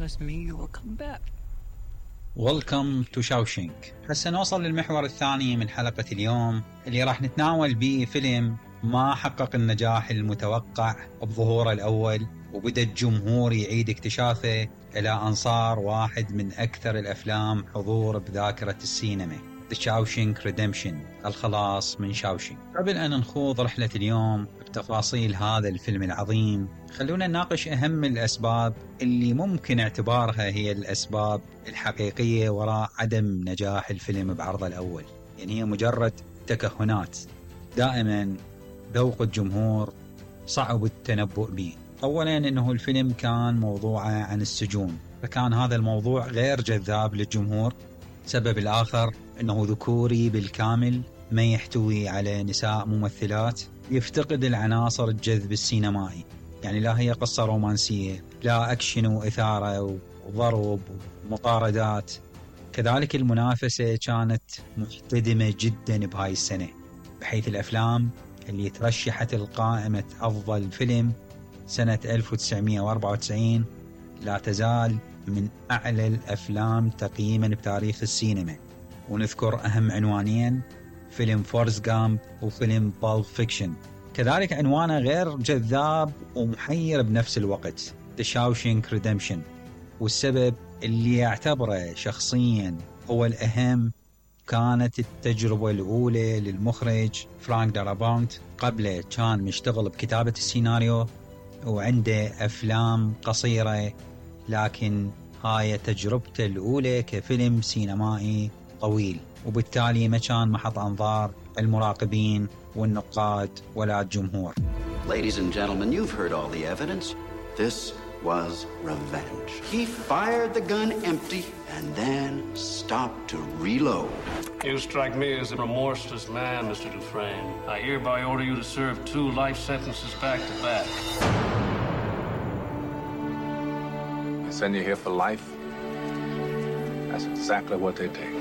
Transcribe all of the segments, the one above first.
promise me you will come back. Welcome to Shawshank. هسه نوصل للمحور الثاني من حلقة اليوم اللي راح نتناول به فيلم ما حقق النجاح المتوقع بظهوره الأول، وبدأ الجمهور يعيد اكتشافه إلى أن صار واحد من أكثر الأفلام حضور بذاكرة السينما. The Shawshank Redemption، الخلاص من شاوشينك. قبل أن نخوض رحلة اليوم بتفاصيل هذا الفيلم العظيم، خلونا نناقش أهم الأسباب اللي ممكن اعتبارها هي الأسباب الحقيقية وراء عدم نجاح الفيلم بعرضه الأول. يعني هي مجرد تكهنات، دائما ذوق الجمهور صعب التنبؤ به. أولا أنه الفيلم كان موضوعه عن السجون، فكان هذا الموضوع غير جذاب للجمهور. السبب الآخر أنه ذكوري بالكامل، ما يحتوي على نساء ممثلات، يفتقد العناصر الجذب السينمائي. يعني لا هي قصة رومانسية، لا أكشن وإثارة وضرب ومطاردات. كذلك المنافسة كانت محتدمة جدا بهاي السنة، بحيث الأفلام اللي ترشحت القائمة أفضل فيلم سنة 1994 لا تزال من أعلى الأفلام تقييما بتاريخ السينما. ونذكر أهم عنوانين، فيلم فورست غامب وفيلم بالب فيكشن. كذلك عنوانه غير جذاب ومحير بنفس الوقت، The Shawshank Redemption. والسبب اللي يعتبره شخصيا هو الأهم كانت التجربة الأولى للمخرج فرانك دارابونت. قبله كان مشتغل بكتابة السيناريو وعنده أفلام قصيرة، لكن هاي تجربته الأولى كفيلم سينمائي طويل، وبالتالي ما كان محط أنظار المراقبين والنقاد ولا الجمهور. Ladies and gentlemen, you've heard all the evidence. This was revenge. He fired the gun empty and then stopped to reload. You strike me as a remorseless man, Mr. Dufresne. I hereby order you to serve 2 life sentences back to back. I send you here for life. That's exactly what they take.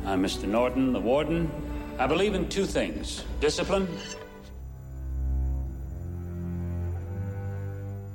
I'm Mr. Norton, the warden. I believe in 2 things: discipline.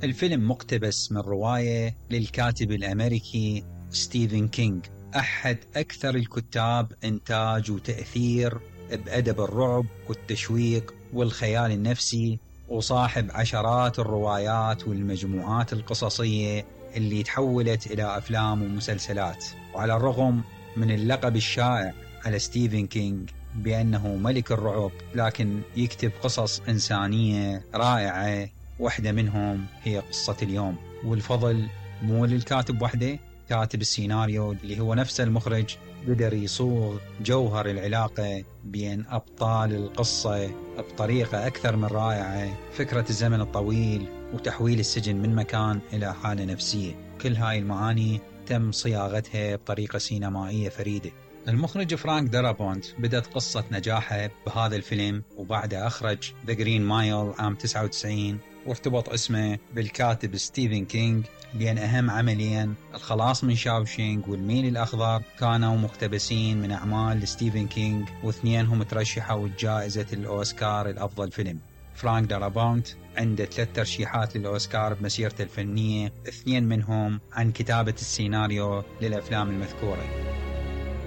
الفيلم مقتبس من رواية للكاتب الأمريكي ستيفن كينغ، أحد أكثر الكتاب إنتاج وتأثير بأدب الرعب والتشويق والخيال النفسي، وصاحب عشرات الروايات والمجموعات القصصية اللي تحولت إلى أفلام ومسلسلات. وعلى الرغم من اللقب الشائع على ستيفن كينغ بأنه ملك الرعب، لكن يكتب قصص إنسانية رائعة. واحدة منهم هي قصة اليوم، والفضل مو للكاتب وحده، كاتب السيناريو اللي هو نفس المخرج قدر يصوغ جوهر العلاقة بين أبطال القصة بطريقة أكثر من رائعة. فكرة الزمن الطويل وتحويل السجن من مكان إلى حالة نفسية، كل هاي المعاني تم صياغتها بطريقة سينمائية فريدة. المخرج فرانك دارابونت بدأت قصة نجاحه بهذا الفيلم، وبعده أخرج The Green Mile عام 99، وارتبط اسمه بالكاتب ستيفن كينغ، لأن أهم عملين الخلاص من شاوشينك والميل الأخضر كانوا مقتبسين من أعمال ستيفن كينغ، واثنينهم ترشحوا جائزة الأوسكار الأفضل فيلم. فرانك دارابونت عنده 3 ترشيحات للأوسكار بمسيرته الفنية، 2 منهم عن كتابة السيناريو للأفلام المذكورة.